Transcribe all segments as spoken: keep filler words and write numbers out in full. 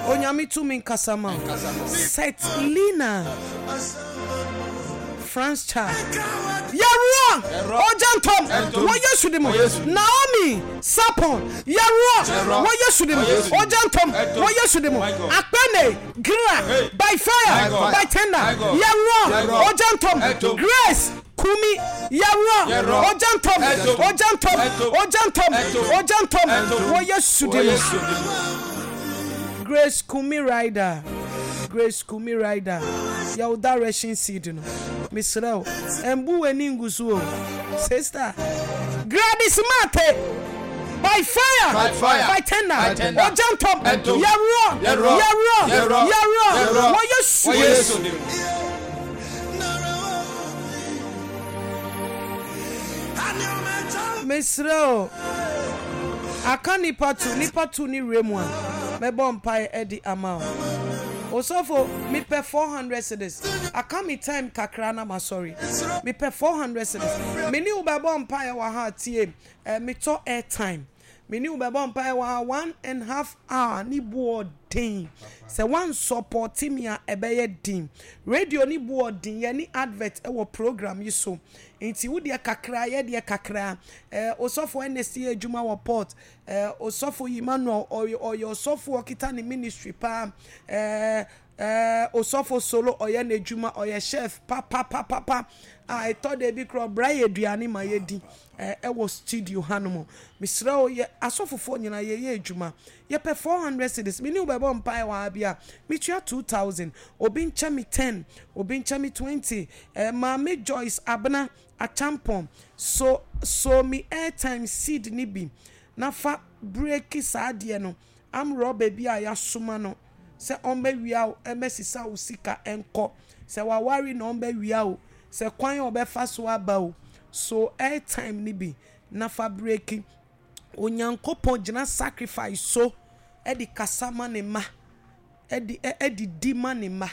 Onyame tumi nkasa ma wo. Set Lina France Cha. Yɛworɔ ogya ntɔm wɔ Yesu de mu. Naomi Sapon. Yɛworɔ wɔ Yesu de mu. Ogya ntɔm wɔ Yesu de mu. Akpene Gra by fire by tender. Yɛworɔ ogya ntɔm. Grace Kumi. Yɛworɔ ogya ntɔm. Ogya ntɔm. Ogya ntɔm. Ogya ntɔm wɔ Yesu de mu. Grace Kumi Rider. Grace Kumi Rider. Yɛwo direction seed no. Mesrɛ wo, ɛmbu w'ani ngu so o. Sister. Gladys Mate. By fire. By fire. By tender. By tender. Ogya ntɔm. Ɛntom. Yɛworɔ. Yɛworɔ. Yɛworɔ. Yɛworɔ. Yɛworɔ. Yɛworɔ. Wɔ Yesu Wɔ din mu. Yesu din mu. Mesrɛ o, aka nipa tu, nipa tu ne wura mu a, mɛbɔ mpae adi ama wo. Osɔfo, mepɛ four hundred cedis. Aka me time kakra na masɔre. Mepɛ four hundred cedis. Me ne wo bɛbɔ mpae wɔ ha tie. Eh, metɔ airtime. Me ne wo bɛbɔ mpae wɔ ha one and half hour ne boɔ den. Sɛ woansɔpɔte me a ɛbɛyɛ den. Radio ne boɔ den, yɛne advert wɔ program yi so. Nti wo deɛ kakra, yɛ deɛ kakra. Eh, Osɔfo Ernest yɛ adwuma wɔ port. Eh, Osɔfo Emmanuel, ɔyɛ ɔyɛ ɔsɔfo ɔkita ne ministry paa. Eh, eh, Osɔfo Solo ɔyɛ n'adwuma, ɔyɛ chef papapapapa. A ɛtɔ da bi koraa ɔbra yɛ aduane ma yɛdi. Eh, ɛwɔ studio hanom. Mesrɛ wo, yɛ asɔfofoɔ nyinaa yɛyɛ adwuma. Yɛpɛ four hundred cedis. Me ne wo bɛbɔ mpaeɛ wɔ ha bi a, metua two thousand. Obi nkyɛ me ten, obi nkyɛ me twenty. Eh, Maame Joyce Abena Achampong, so so me airtime seed no bi na fa breaki saa adeɛ no. Arm robber bi a yɛasoma no sɛ ɔmmɛwia wo, ɛmmɛsesa wo sika nkɔ. Sɛ waware na ɔmmɛwia wo, sɛ kwan a ɔbɛfa so aba o, so airtime no bi na fa breaki. Onyankopɔn gyina sacrifice so de kasa ma ne mma, de de di ma ne mma.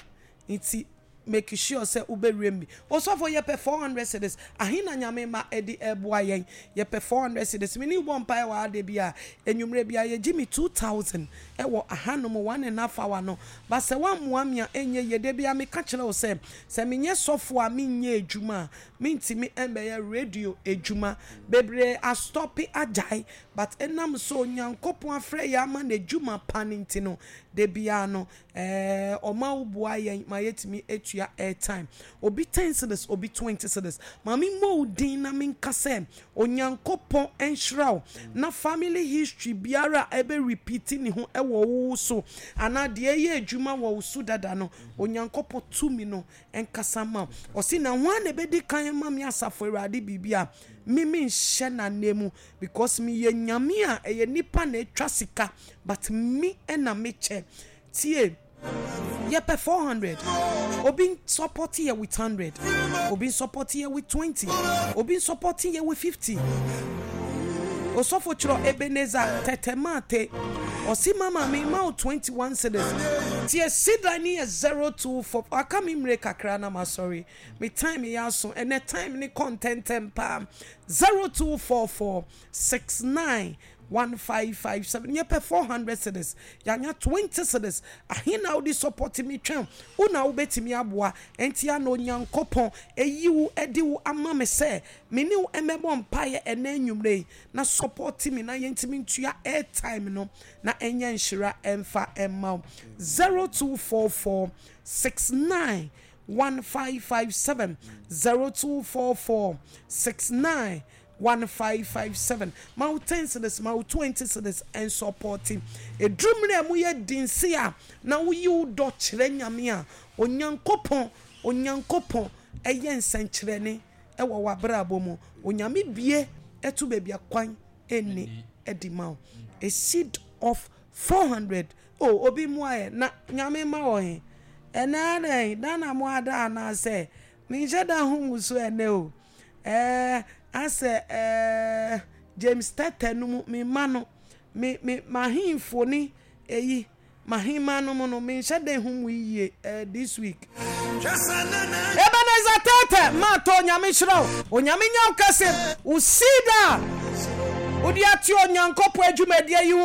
Nti make sure sɛ wobɛwura mu bi. Osɔfo yɛpɛ four hundred cedis. Ahe na Nyame mma de ɛboa yɛn? Yɛpɛ four hundred cedis. Me ne wo bɔ mpaeɛ wɔ ha da bi a, anwummerɛ bi a yɛgye me two thousand wɔ ahanom one and half hour no. But sɛ woammoa me a ɛnyɛ yie. Da bi a meka kyerɛ wo sɛ, sɛ menyɛ sɔfo a menyɛ adwuma a, mentumi mbɛyɛ radio adwuma. Bebree astɔpe agyae but ɛnam sɛ Onyankopɔn afrɛ yɛn ama n'adwuma pa no nti no, da biara no ɛɛ ɔma wo boa yɛn ma yɛtumi atua airtime. Obi ten cedis, obi twenty cedis. Ma me mmɔ wo din na menka sɛ Onyankopɔn nhyira wo na family history biara a ɛbɛ repeat ne ho wɔ wo so anaa deɛ ɛyɛ adwuma wɔ wo so dada no, Onyankopɔn tumi no nkasa mma wo. Ɔse na hwan na ɛbɛdi kan ama me asafo Awurade biribi a me menhyɛ n'ananmu because meyɛ Nyame a ɛyɛ nipa na atwa sika but me na mekyɛ. Tie, yɛpɛ four hundred. Obi support yɛ with hundred, obi support yɛ with twenty, obi support yɛ with fifty. Osɔfo kyerɛ Ebenezer Tete Mate. Ɔsi mama me ma wo twenty one cedis. Tie sidra ni yɛ zero two four. Aka me mmire kakra na ma sorry. Me time yɛ aso. Ɛnɛ time ne kɔ ntɛntɛm paa. zero two four four six nine one five five seven. Yɛpɛ four hundred cedis. Yɛanya twenty cedis. Ahe na wode support me twɛn? Wo na wobɛtumi aboa. Enti a na Onyankopɔn eyi wo de wo ama me sɛ me ne wo mmɛbɔ mpaeɛ ɛnɛ anwummerɛ yi na support me na yɛntumi ntua airtime no na ɛnyɛ nhyira ɛmfa ɛmma wo. zero two four four six nine one five five seven zero two four four six nine one five five seven. Ma wo ten cedis, ma wo twenty cedis ɛnsɔpɔte. Ɛduru mmerɛ a mu yɛ den se a na woyi wo dɔ kyerɛ Nyame a, Onyankopɔn, Onyankopɔn ɛyɛ nsɛnkyerɛnne ɛwɔ w'abrabɔ mu. Onyame bie ɛto baabi a kwan ɛnni ɛde ma wo. A seed of four hundred. Oh, obi mmoa yɛ na Nyame ma wɔ he. Ɛnɛ adɛn, da na mo ada anaasɛ menhyɛ da ho mu so ɛnɛ o. Eh, asɛ eh, James Tete no mu me ma no, me me mahemfo ne eyi mahema no mu no menhyɛ da ho mu yie eh, this week. Ebenezer Tete ma to Onyame hyira wo. Onyame nya wo kɛse. Wo seed a wode ate Onyankopɔn adwumadie yi ho